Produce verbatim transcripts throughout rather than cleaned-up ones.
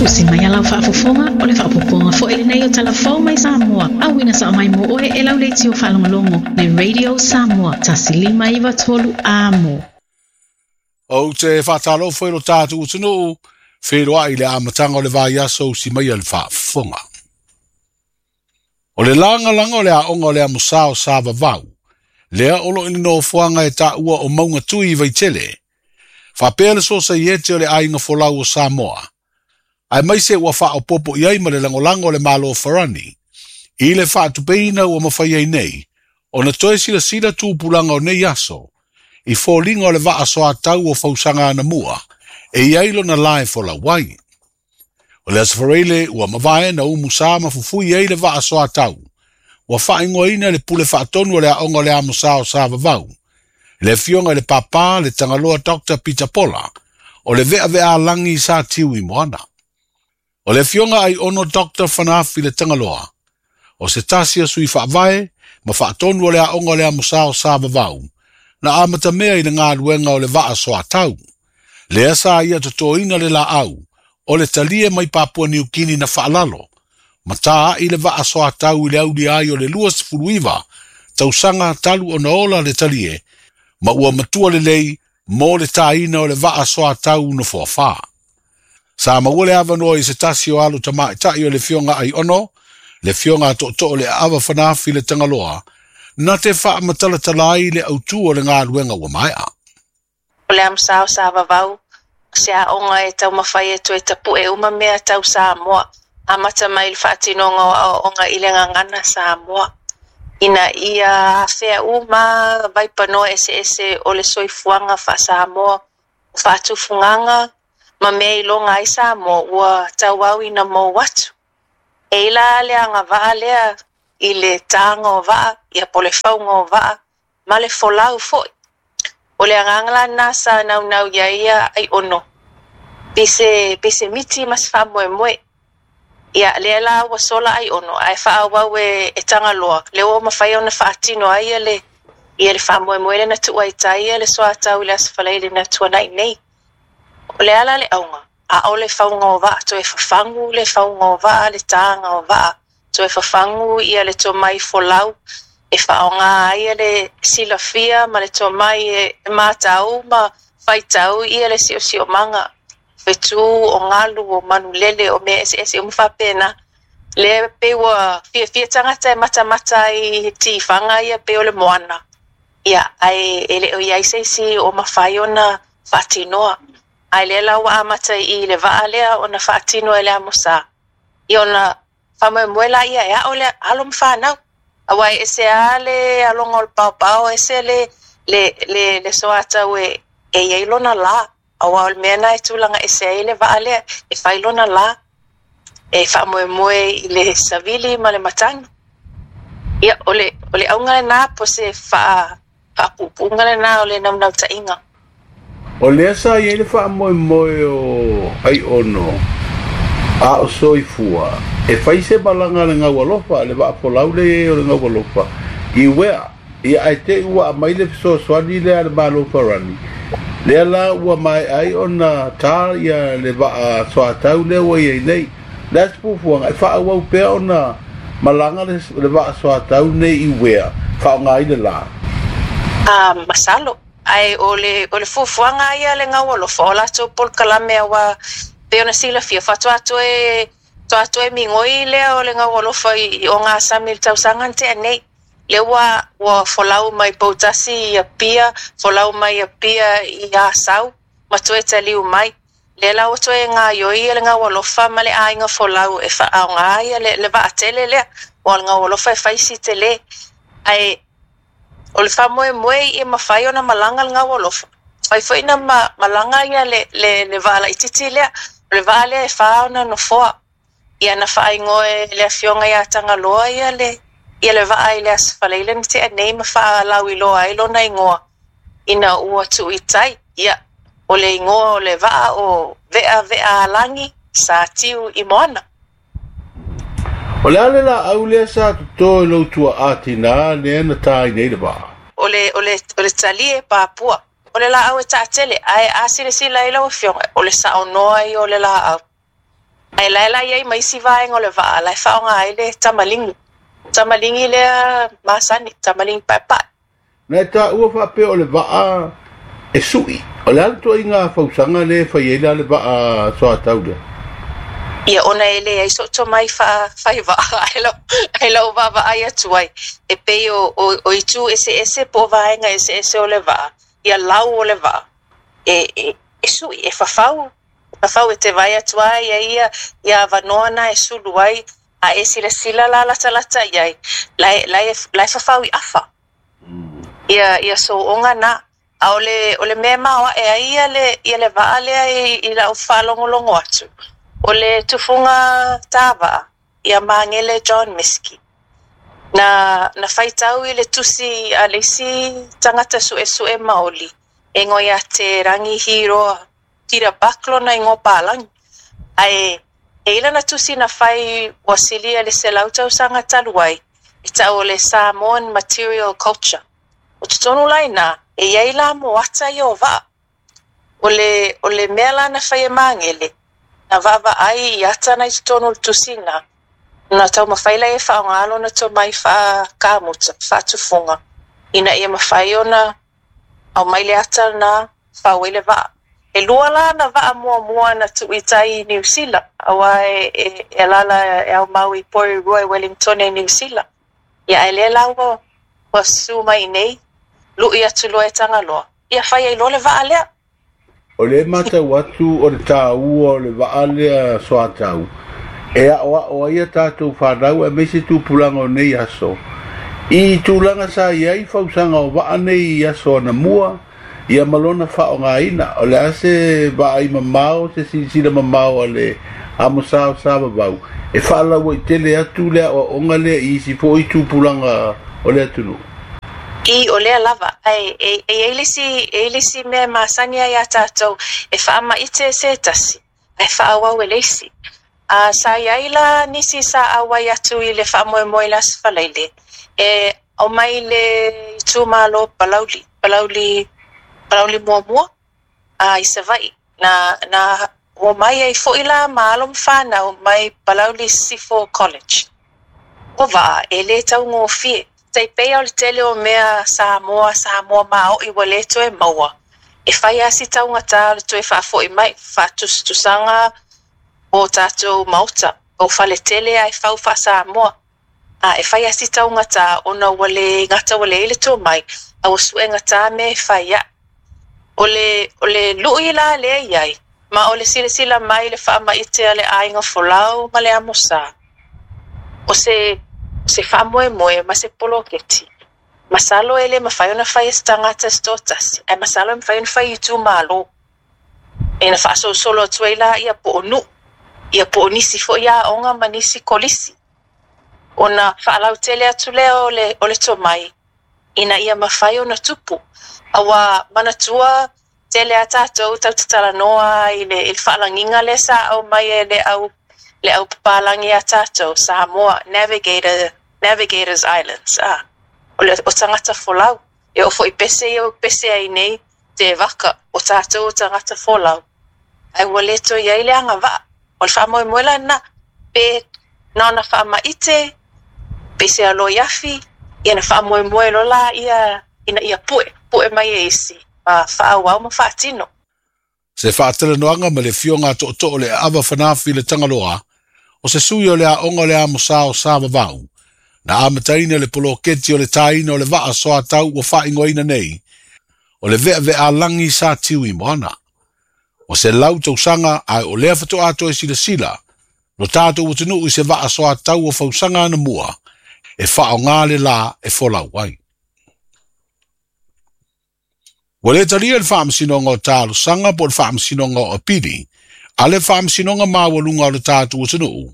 Usi mai alau faafofoga o le faapopoga foi lenei o talafou mai Samoa. Auina sa mai mo oe e lau leitio faalogologo le Radio Samoa tasi lima iva tolu amo. Ou te whātalo foi lo tātou utunuu, wheroa i le amatanga o le vaiaso usi mai a le faafofoga. O le langa langa o le aonga o le amosa o sa vavau, lea olo i le nofoaga e taua o maunga tui i Vaitele. Faapea le sosaiete o le aiga folau o Samoa. Ae mai se ua faaopopo i ai ma le lagolago o le Malo Farani. I le faatupeina ua mafai ai nei, ona toe silasila tupulaga o nei aso, i foliga o le vaa soatau o fausaga anamua, e i ai lona lae folau ai. O le Aso Faraile ua mavae na umu sa ma fufui ai le vaa soatau, ua faaigoaina le pule faatonu o le aoga o le amosa o sa vavau. Le afioga i le papa le Tagaloa Doctor Peter Pola, o le veavea lagi sa tiu i moana. O le afioga ai ono Doctor Fanafi le Tagaloa, o se tasi a sui faavae ma faatonu o le aoga o le amosa o sa vavau, na amatamea i le galuega o le vaa soatau. Lea sa ia totoina le laau, o le talie mai Papua Niukini na faalalo, ma tā i le vaa soatau i le auli ai o le lua sefuluiva, tausaga talu ona ola le talie, ma ua matua lelei mo le tāina o le vaa soatau no foafā. Sa maua le avanoa i se tasi o alu tamaitai o le fioga ai ono, le fioga tootoo le aava Fanafi le Tagaloa, na te faamatalatala ai le autū o le galuega ua maea. O le amosa o sa vavau, se aoga e taumafai e toe tapu'e uma mea tau Samoa, amata mai le faatinoga o aoaoga i le gagana Samoa. Ina ia afea uma vaipanoa eseese o le soifuaga faa-Samoa, o faatufugaga ma mea iloga ai Samoa ua tauau ina mou atu. E ila le agavaa lea i le tāga o vaa, ia po le fauga o vaa, ma le folau foi. O le agaga lana sa naunau ia ia ai ono. Pese, pese miti ma se faamoemoe. Ia, lea la ua sola ai ono, ae faaauau e, e Tagaloa. Le ua mafai ona faatino ai ia le, ia le faamoemoe le na tuua i tai ia le soatau i le Aso Faraile na tuanai nei. O le ala le auga, a o le fauga o vaa, toe fafagu le fauga o vaa, le tāga o vaa, toe fafagu ia le tomai folau, e faaaoga ai ia le silafia ma le tomai e matau ma faitau ia le siosiomaga. Fetu o galu o manulele o mea eseese uma faapena. Lea pei ua fiafia tagata e matamata i tifaga ia pei o le moana. Ia, ae e le o i ai se isi o mafai ona faatinoa. Ae lea la ua amata i le vaa lea ona faatino e le amosa. Ia ona faamoemoe la ia e ao le alo ma fanau. Aua e ese a le aloga o le paopao, ese le, le, le, le soatau e, e iai lona la. Aua o le mea na e tulaga ese ai le vaa lea, e fai lona la, e faamoemoe i le savili ma le matagi. Ia, o le, o le auga lenā po se faa, faapuupuuga lenā o le naunautaiga. O lea sa i ai le faamoemoe o ai ono, a o soifua, e fai se malaga le gaualofa, le vaafolau le e o le gaualofa, i uea, ia ae te ua aumai le fesoasoani lea le Malo Farani. Lea la ua mai ai ona tā ia le vaa soatau lea ua iai nei. Lea se fuafuaga, e faaauau pea ona malaga le, le vaa soatau nei i uea, faaaoga ai le la. Ah, masalo. Ae o le, o le fuafuaga ia le gaualofa, o latou polokalame aua pei ona silafia, faatoa toe, toa toe migoi lea o le gaualofa i, i o gasami i le tausaga na tea nei. Le ua, ua folau mai Poutasi i Apia, folau mai Apia i Asau, ma toe taliu mai. Le la ua toe gaioi ia le gaualofa ma le aiga folau e faaaoga ia le, le vaatele lea, o le gaualofa e fai si tele. Ae o le faamoemoe ia mafai ona malaga le gaualofa. Fai foi na ma, malaga ia le, le, le vaa laitiiti lea, o le vaa lea e fā ona nofoa. Ia na faaigoa e le afioga ia Tagaloa ia le, ia le vaa i le Aso Faraile na tea nei ma faalauiloa ai lona igoa. Ina ua tuu i tai, ia, o le igoa o le vaa o Vea Vea Alagi sa tiu i moana. O le ale la au lea sa toto i lou tuaa tinā lea na tā i nei le vaa. O le, o le, o le talie papua. O le laau e taatele, ae a silasila i lau afioga, o le saonoa ia o le laau. Ae la e la i ai ma isi vaega o le vaa la e faaaoga ai le tamaligi. Tamaligi lea masani, tamaligi paepae. Na e taua faapea o le vaa e su'i. O le a le ituaiga fausaga lea e fai ai la le vaa soatau lea? Ia ona e leai so'u tomai faa-faivaa ae lau ae lau vaavaai atu ai e pei o o o itu eseese po o vaega eseese o le vaa, ia lau o le vaa e e e su'i e fafau, fafau e te vaai atu ai ia ia ia avanoa na e sulu ai a e silasila la latalata i ai la e la e la e fafau i afa ia ia so'oga na. A o le o le mea e maoa'e ai ia le ia le vaa lea i i la'u faalogologo atu o le tufuga tāvaa ia Magele John Miski na na faitau i le tusi a le isi tagata su'esu'e maoli e igoa ia te Rangi Hiroa Peter Buck lona igoa palagi ae e i lana tusi na fai ua silia le selau tausaga talu ai e ta'u o le Samoan Material Culture. O totonu la iná e iai la moata ia o vaa. O le o le mea la na fai e Magele na vaavaai i ata na i totonu o le tusi na na taumafai laia e faaaoga lona tomai faakamuta faatufuga ina ia mafai ona aumai le ata lena fau ai le vaa. E lua la na vaa muamua na tuu i tai i Niu Sila auā e e e alaala e aumau i Porirua i Wellington e Niu Sila. Ia ae lea la ua ua susu mai iinei lu'i atu loa e Tagaloa ia fai ai loa le vaa lea. O lea e matau atu o le taua o le vaa lea soatau e aoao ai a tatou fanau aemaise tupulaga o nei aso i tulaga sa i ai fausaga o vaa nei i aso anamua ia ma lona faaaogaina. O le a se vaai mamao, se silasila mamao a le Amosa o Sa-Vavau e faalauaitele atu le aoaoga lea i isi foi tupulaga o le atunuu? I o lea lava ae e e iai le isi e iai le isi mea e masani ai iā tatou e faamaite e se tasi ae faaauau e le isi. A sa iai la nisi sa auai atu i le faamoemoe i le Aso Faraile e aumai le itumalo Palauli, Palauli Palauli muamua a i Savaii na na omai ai fo'i la ma alo ma fanau mai Palauli Sisifo College. O vaa e lē taugofie tai pei o le tele o mea Samoa Samoa mao'i ua lē toe maua e fai lava si taugatā o le toe faafo'i mai faatusatusaga o tatou maota o faletele ae fau faa-Samoa a e fai lava si taugatā ona ua lē gata ua leai le tomai a ua su'egatā mea e fai a'i. O le o le lu'i la lea iai ma o le silasila mai le faamaite a le aiga folau ma le Amosa o se se faamoemoe ma se poloketi. Masalo e lē mafai ona fai e se tagata se toatasi ae masalo e mafai ona fai i itumalo e na faasolosolo atu ai laia po o nuu ia po o nisi fo'i aoga ma nisi kolisi ona faalautele atu lea o le o le tomai ina ia mafai ona tupu. Auā manatua tele a tatou tatou te talanoa i le i le faalagiga lea sa aumai e le au le au papalagi iā tatou Samoa Navigator Navigators Islands a o le o tagata folau e oo fo'i pese ia ua pese ai nei te vaka o tatou o tagata folau ae ua lē toe iai le agavaa. O le faamoemoe la lena pe na ona faamaite pe se aloi afi ia na faamoemoe loa laia ina ia pu'e pu'e mai e isi ma faaauau ma faatino. Se faatalanoaga ma le afioga a Tootoo le Aava Fanafi le Tagaloa, o se sui o le aoga o le Amosa o Sa-Vavau, na amataina le poloketi o le tāina o le vaa soatau ua faaigoaina nei, o le Veavealagi sa tiu i moana. Ua selau tausaga ae o lea faatoa toe silasila lo tatou atunuu i se vaa soatau o fausaga anamua e faaaoga le la e folau ai. Ua le talia le Faamasinoga o Talosaga po o le Faamasinoga o Apili a le Faamasinoga Maualuga o le tatou atunuu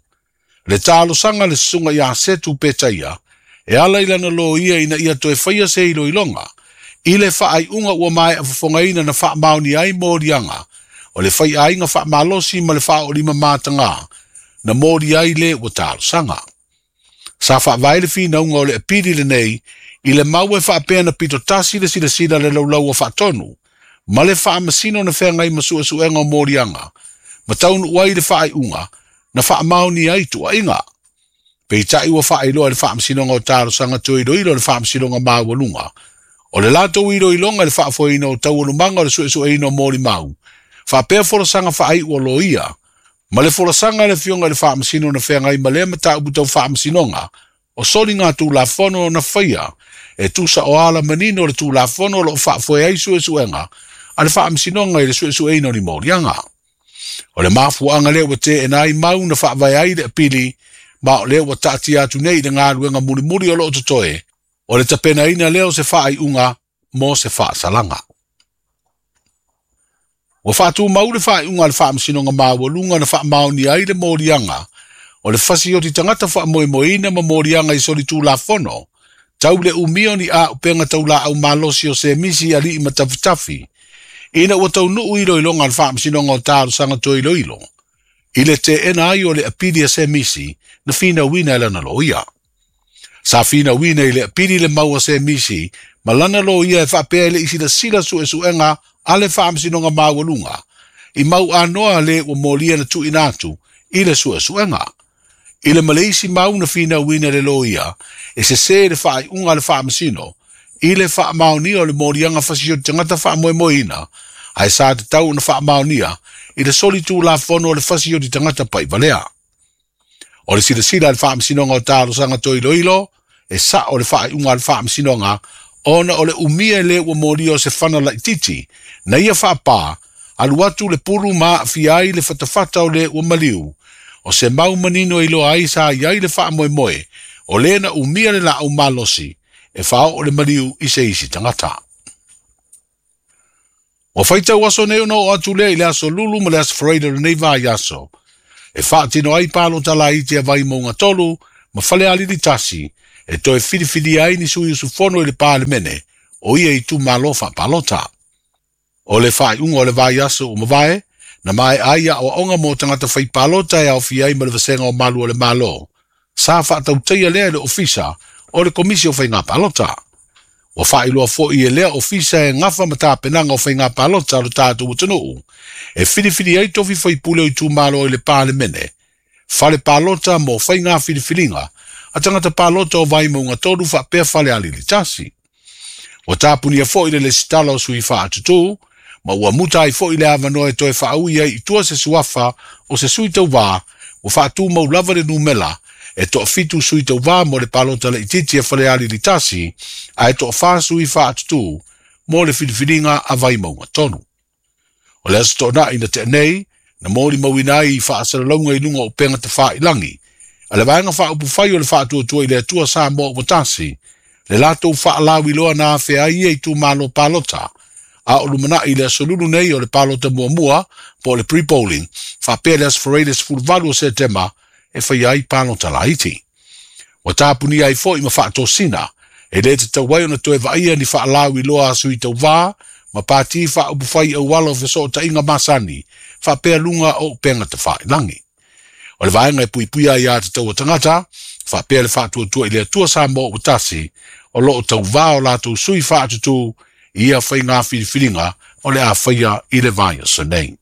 le talosaga a le Susuga ia Setu Petaia e ala i lana loia ina ia toe faia se iloiloga i le faaiuga ua maea fofogaina na faamaonia ai moliaga o le faiaiga faamalosi ma le faaolima matagā na moli ai le ua talosaga. Sa faavae le finauga o le apili lenei i le mau e faapea na pitotasi le silasila le laulau a faatonu ma le faamasino na feagai ma suesuega o moliaga ma taunuu ai le faaiuga na faamaonia ai tuuaiga. Peitai ua faailoa e le Faamasinoga o Talosaga Toe Iloilo le Faamasinoga Maualuga. O le latou iloiloga i le faafoeina o taualumaga o le suesueina o molimau, faapea folasaga faaiu o loia, ma le folasaga a le Afioga i le Faamasino na feagai ma lea mataupu tau faamasinoga, o soliga tulafono na faia, e tusa o ala manino o le tulafono o loo faafoe ai suesuega a le Faamasinoga i le suesueina o ni moliaga. O le mafuaaga lea ua teena ai mau na faavae ai le apili, ma o lea ua taatia atu nei i le galuega mulimuli o loo totoe, o le tapenaina lea o se faaiuga mo se faasalaga. Ua faatumau le faaiuga a le Faamasinoga Maualuga na faamaonia ai le moliaga o le fasioti tagata faamoemoeina ma moliaga i solitulafono, tau le umia o ni auupega taulaau malosi o semisi alii ma tafitafi, ina ua taunuu iloiloga a le Faamasinoga o Talosaga Toe Iloilo, i le teena ai o le apili a semisi na finauina e lana loia. Sa finauina i le apili le mau a semisi ma lana loia e faapea e le i silasila suesuega a le Faamasinoga Maualuga, i mau anoa le ua molia na tuuina atu i le suesuega. I le maleisi mau na finauina le loia, e sesē le faaiuga a le Faamasino, i le faamaonia o le moliaga fasioti tagata faamoemoeina, ae sa tatau ona faamaonia i le solitulafono o le fasioti tagata paivalea. O le silasila a le Faamasinoga o Talosaga Toe Iloilo, e sao le faaiuga a le Faamasinoga, ona o le umia e le ua molia o se fana laititi, na ia faapā, alu atu le pulu ma aafia ai le fatafata o le ua maliu, o se mau manino e iloa ai sa i ai le faamoemoe, o lea na umia le laau malosi, e faaoo le maliu i se isi tagata. Ua faitau aso nei ona oo atu lea i le aso Lulu ma le aso Faraida o lenei vaiaso, e faatino ai palota laiti a Vaimauga tolu ma Falealili tasi, e toe filifilia ai ni sui usufono i le Palemene o ia itumalo faapalota. O le faaiuga o le vaiaso ua mavae, na maea ai aoaoga mo tagata faipalota e aofia ai ma le vasega o malu o le Malo, sa faatautaia lea e le ofisa o le Komisi o Faiga Palota. Ua faailoa foi e lea ofisa e gafa ma tapenaga o faiga palota a lo tatou atunuu, e filifili ai tofi faipule o itumalo i le Palemene, fale palota mo faiga filifiliga a tagata palota o Vaimauga tolu faapea Falealili tasi. Ua tapunia foi le lesitala o sui faatutū, ma ua muta ai foi le avanoa e toe faaui ai i tua se suafa o se sui tauvā, ua faatumau lava le numela, e toafitu sui tauvā mo le palota laitiiti a Falealili tasi, ae toafā sui faatutū mo le filifiliga a Vaimauga tolu. O le aso toonai na tea nei, na molimauina ai i faasalalauga i luga o upega tafailangi, a le vaega faaupufai o le faatuatua i le Atua Samoa ua tasi, le latou faalauiloa na afea ai ia itumalo palota, a o lumanai i le aso Lulu nei o le palota muamua po o le pre-polling, faapea le aso Faraida sefuluvalu o Setema e faia ai palota laiti. Ua tapunia ai foi ma faatosina, e le tatau ai ona toe vaaia ni faalauiloa a sui tauvā ma pati faaupufai auala o fesootaiga masani, faapea luga o upega tafailangi. O le vaega e puipuia ai iā tatau o tagata, faapea le faatuatua i le Atua Samoa ua tasi, o loo tauvā o latou sui faatutū i ia faiga filifiliga o le a faia i le vaiaso nei.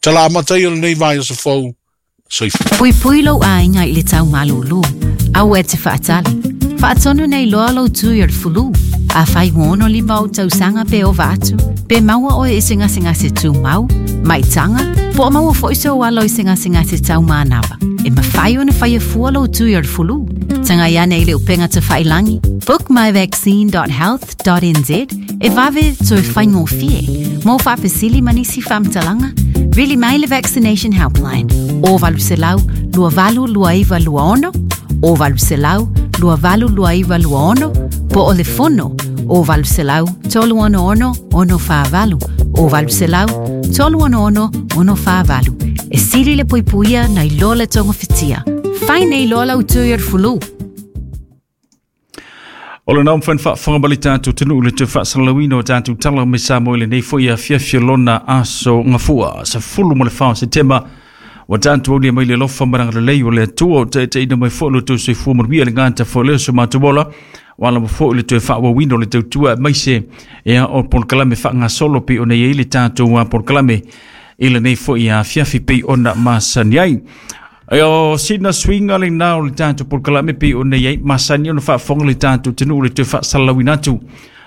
Tala amata ia o lenei vaiaso fou, soifua. Puipui lou aiga i le tau malūlū, aua e te faatali. Faatonu nei loa lou tui o le fulu. Afai ua ono lima ou tausaga pe ova atu, pe maua oe i se gasegase tumau, maitaga, po o maua foi sou alo i se gasegase taumanava. E mafai ona faia fua lou tui o le fulu. Tagai ane i le upega tafailangi, book my vaccine dot health dot n z e vave toe faigofie. Mo faafesili ma nisi faamatalaga, vili mai le Vaccination Helpline o valu selau lua valu lua iva lua ono, o valu selau lua valu lua iva lua ono, po o le fono o valu selau tolu ono ono ono whaavalu, o valu selau tolu ono ono ono whaavalu. E sili le puipuia nei loa le tonga fitia. Fai nei loa lau tui o le fulu. O le nau mawhai whaafanga tātou tunu le te whaasalawina o tātou tala me sa mo i lenei foi a fiafia lona aso ngafua. Sa fulu mo le whao Setema wa tātou au mai le lofa maranga lelei o le atua o te te ina mai fo lo tau soifua manuia le ngata fo leo so mātou wala mo fo le toe whaawawina o le tautua maise ea o polokalame whaangasolo pe o nei ei le tātou a polokalame i lenei foi a fiafi pei ona masani ai. O sina swinga le nā o le tātou polokalame pe o nei ai masani ona faafofoga le tātou atunuu le toe faasalalauina atu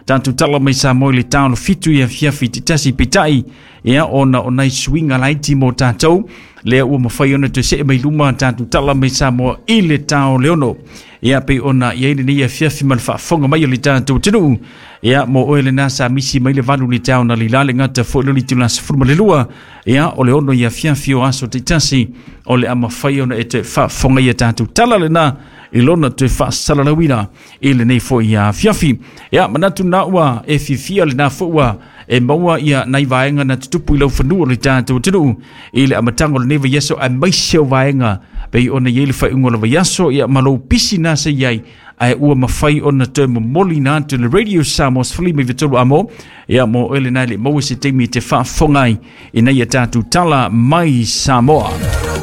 tātou tala mai Samoa i le taolo fitu ia fiafi tasi peitai ia ona o nai suiga laiti mo tātou lea ua mafai ona toe see mai luma tātou tala mai Samoa i le tao le ono ia pe ona i ai lenei afiafi ma le faafofoga mai o le tātou atunuu ia mo oe lena sa misi mai le valu le tao na lila le gata foi le itula sefulu ma le lua ia o le ono i afiafi o aso taitasi o le a mafai ona e toe faafofoga ia tātou tala lena i lona toe faasalalauina i lenei foi afiafi. Ia manatu na ua e fiafia lena foi ua e maua ia nai vaega na tutupu i lau fanua o le tātou atunuu i le amataga o lenei vaiaso aemaise o vaega pei ona i ai le faaiuga o le vaiaso ia ma lou pisi na se i ai ae ua mafai ona toe momoli na atu le Radio Samoa sefulima iva tolu amo ia mo oe lena e le maua se taimi e te faafofoga ai ina ia tatou tala mai Samoa.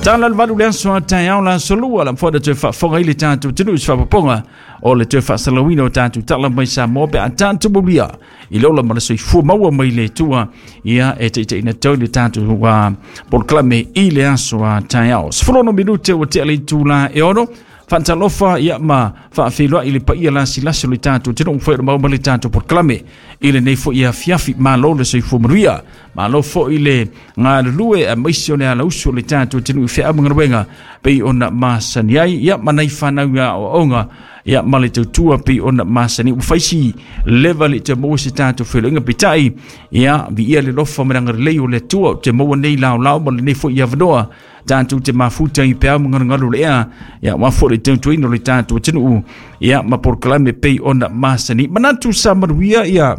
Tala le valu le aso a taeao la aso lua la mafai ona toe faafofoga ai le tatou atunuu i se faapopoga o le toe faasalalauina o tatou tala mai Samoa pe a tatou maulia i le ola ma le soifua maua mai le Atua ia e taitaiina tau le tatou uh, polokalame i le aso a taeao. Sefulu minute ua tea le itula e ono faatalofa ia ma faafeiloai le paia lasilasi o le tatou atunuu foi o le maua ma le tatou polokalame i lenei foi afiafi. Malo le soifua manuia, malo foi le galulue aemaise o le alausu o le tatou atunuu i feau ma galuega pei ona masani ai ia ma nai fanau ia aoaoga ia ma le tautua pei ona masani ua faisi leva le te maua se tatou feiloaiga peitai ia viia le lofa ma le agalelei o le Atua o te maua nei laolao ma lenei foi avanoa tatou te mafuta i peau ma galugalu le ea ia ua foi le tautuaina o le tatou atunuu ia ma polokalame pei ona masani. Manatu sa manuia ia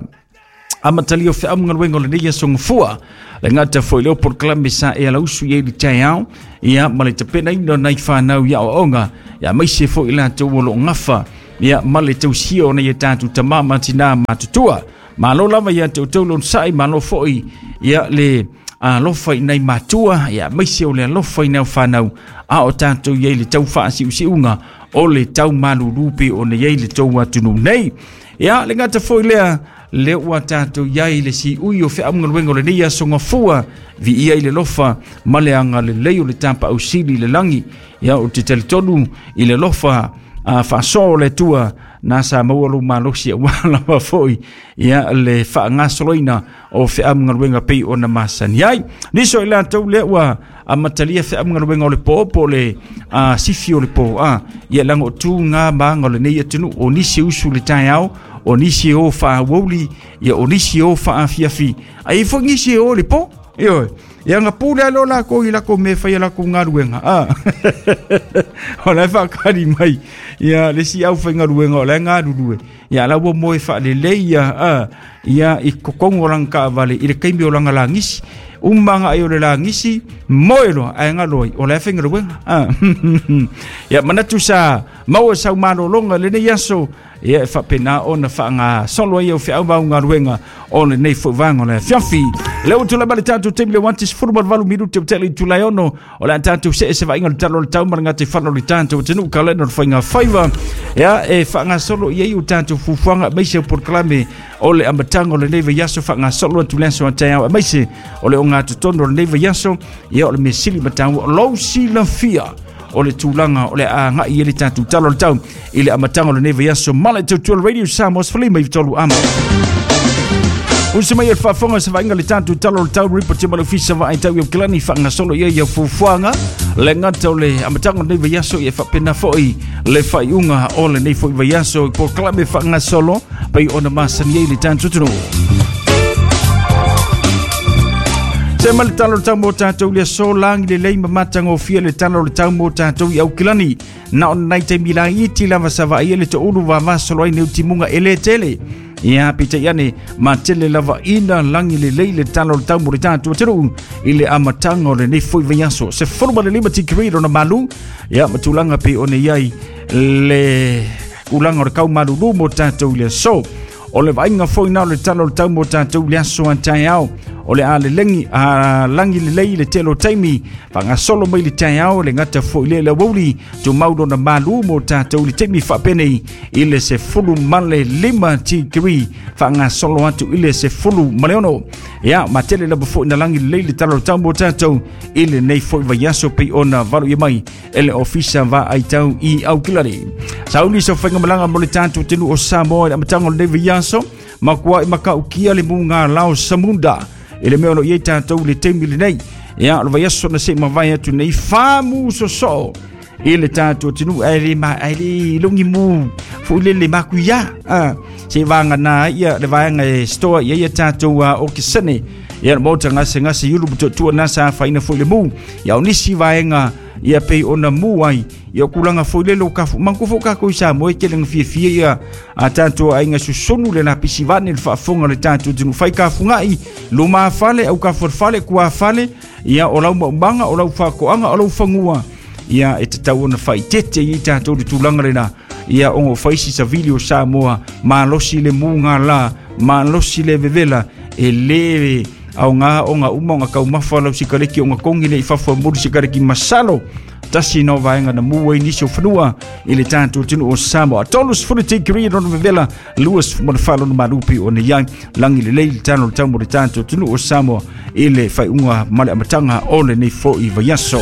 amatalia o feau ma galuega o lenei aso gafua le gata foi leo polokalame sa e alausu i ai le taeao ia ma le tapenaina o nai fanau i aoaoga ia aemaise foi latou o loo gafa ia ma le tausia o nai a tatou tamā ma tinā matutua. Malo lava ia te outou lonosai, malo foi ia le alofa i nai matua ia aemaise o le alofa i nai fanau a o tatou i ai le tau faasiusiuga o le tau malulu pe ona i ai le tou atunuu nei. Ia le gata foi lea le ua tatou i ai le siui o feau ma galuega o lenei aso gafua viia i le lofa ma le agalelei o le tapausili i le lagi ia o te talitonu i le lofa a faasoa o le Atua na sa maua lou malosi aua lava foi ia le faagasoloina o feau ma galuega pei ona masani ai. Nisi o i latou lea ua amatalia feau ma galuega o le po po o le a, sifi o le po a ia laga o tuga maga o lenei atunuu o nisi usu le taeao o nisi o faauauli ia o nisi o faafiafi ai foi nisi o le po ioe ia nga pule alo la ko i la ko me fai la ko galuega a o la faakali mai ia le si au fai galuega o la galulue ia la ua moe faalelei ia a ia i kokogo o lana taavale i le taimi o lana lagisi umanga ai o le lagisi moe loa ae galo ai o la faigaluega a ia manatu sa maua sau malologa lenei aso ia e faapena ona faagasolo ai au feau ma au galuega o lenei foi vaega o le afiafi. Le ua tulai mai le tatou taimi le uati sefulu ma le valu minute o tea le itula e ono o le a tatou see se vaaiga o le tala o le tau ma le gataifale o le tatou atunuu kalena o le faiga faiva ia e faagasolo i ai o tatou fuafuaga aemaise o polokalame o le amataga o lenei vaiaso faagasolo atu le aso a taeao aemaise o le ogatotonu o lenei vaiaso ia o le mea sili ma taua o lou silafia o le tulaga o le agai i le tatou tala o le tau i le amataga o lenei vaiaso ma le tautua o le Radio Samoa sefulima iva tolu amo. Usa mai e le faafofoga se vaaiga le tatou tala o le tau ripoti ma le ofisa vaaitau i Aukilani faagasolo i ai au fuafuaga le gata o le amataga o lenei vaiaso ia faapena foi le faaiuga o lenei foi vaiaso i polokalame faagasolo pei ona masani ai le tatou atunuu. Se ma le tala o le tau mo tatou le aso lagi lelei ma matagofie le tala o le tau mo tatou i Aukilani na ona nai taimi laiti lava sa vaaia le toulu vavasolo ai nei timuga e lē tele ia peitai ane ma tele lava ina lagi lelei le tala o le tau mo le tatou atunuu i le amataga o lenei foi vaiaso sefulu ma le lima tikeri lona malu ia ma tulaga pei ona i ai le tulaga o le kaumalulu mo tatou i le aso. O le vaaiga foi na o le tala o le tau mo tatou i le aso a taeao O le a le lengi a langi le lei le telo taimi whangasolo mai le taiao le ngata fo ile le wauli tu maulo na malu mo tātou le taimi whapene i le se fulu male lima tikiri whangasolo atu i le se fulu maleono. Ia matele lava fo ina langi le lei le talo tau mo tātou i le nei fo i vaiaso pe ona valu i mai e le ofisa va aitau i aukilari. Sauli so whainga malanga mo le tātou tenu o Samoa i amatanga o le nei vaiaso makua i makaukia le munga lao samunda i le mea o lo iei tātou le teimi le nei. Ia, o le vaiaso na se mawai atu nei whamu soso i le tātou tenu ai le ma ai le longi mu fu le le makuia. Ah, se vanga na ia le vaanga e stoa ia ia tātou uh, o kisene. Ia le mota ngase ngase yulu buto tua nasa whaina fo le mu. Ia o nisi vaenga ia pei ona mu ai ia kulanga fo le lo kafu manku fo ka ko sa mo ke le fie fie ia a tanto ai nga susonu le na pisi vane le faafonga le tanto tinu fai ka fungai lo ma fale au ka fale kua fale ia o lau maumanga o lau whakoanga o lau fangua ia e te tau ona fai tete i tātou le tūlanga lena ia ongo faisi sa vili o Samoa malosi le munga la malosi le vevela e le au ngā o ngā uma o ngā kaumafa lau sikareki o ngā kongi le i fafua muri sikareki masalo tasi no vaenga na mua i nisi o whanua i le tātou tinu o Samoa. Tolus fulu te kiri rono vevela luas fumana no marupi o ne iai langi le lei le tāno le tau mo le tātou tinu o Samoa i le whaiunga male amatanga o le nei fo i vaiaso.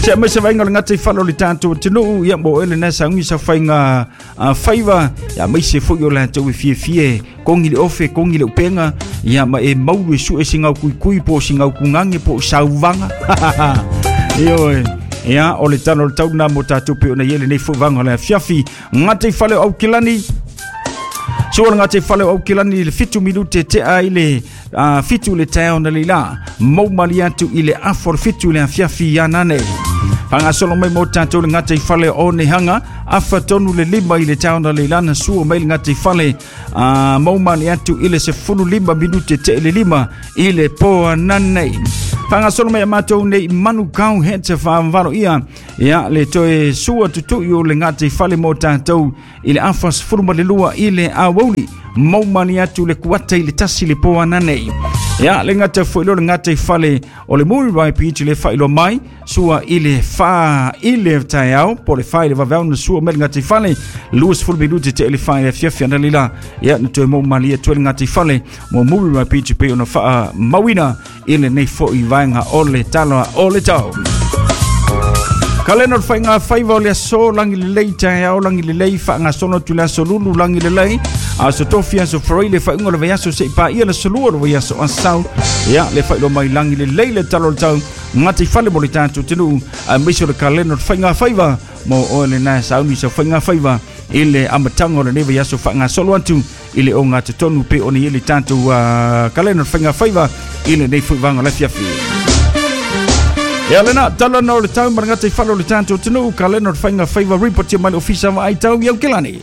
Se mai se vainga le ngata i whalo le tātou tinu ia mo ele nasa ungi sa whainga uh, whaiva ia mai se fo i o lātou e fie fie kongi le ofe kongi le upenga ia ma e maulu e su e singau kui kui po singau kungange po sauvanga. Ioe ia o le tano le tau nā mo tātou pe ona iele nei fo vanga le fiafi ngata i whale au kilani. Sua ngā te whale au kilani le fitu minute te a i le uh, fitu le teo na leila maumali atu i le afo le fitu le afiafi ia nane. Whangasolo mai mō tātou le ngā te whale o nehanga afa tonu le lima i le teo na leila na sua mai le ngā te whale uh, maumali atu i le se fulu lima minute te le lima i le poa nane. Whangasolo mai a mātou nei manu kau he te whaamvaro ia ia le toe sua tutu i o le ngā te whale mō tātou i le afa sefulu ma le lua i le awauli maumali atu le kuata i le tasi le poa nanei. Ia le ngata fo le ngata i fale o le muri rai pichi le whailo mai sua i le wha i le taiao po le wha i le vavau na sua me le ngata i fale luas fulu minute te ele wha i le fiafia na lila ia na toe maumali atu le ngata i fale mo muri rai pichi pe ona wha mawina i le nei fo i vaenga o le taloa o le tau. Kalena o whainga whaiva o le aso langi le lei taiao langi le lei whaanga sono tu le aso lulu langi le lei a so tofi aso foroi le whainga le vaiaso se i pā ia le solua le vaiaso asau ia le whailo mai langi le lei le talo le tau ngati whale mo le tātou tenu a miso le kalena o whainga whaiva mo o le nā sauni sa whainga whaiva i le amatanga o le nei vaiaso whaanga solo atu i le o ngā te tonu pe o ni i le tātou uh, kalena o whainga whaiva i le nei fuivanga le fiafi. Ia lena, tala no le tau marangata i whalo le tātou tenu, ka lena o whainga whaiva report mai le ofisa wa ai tau iau kilani.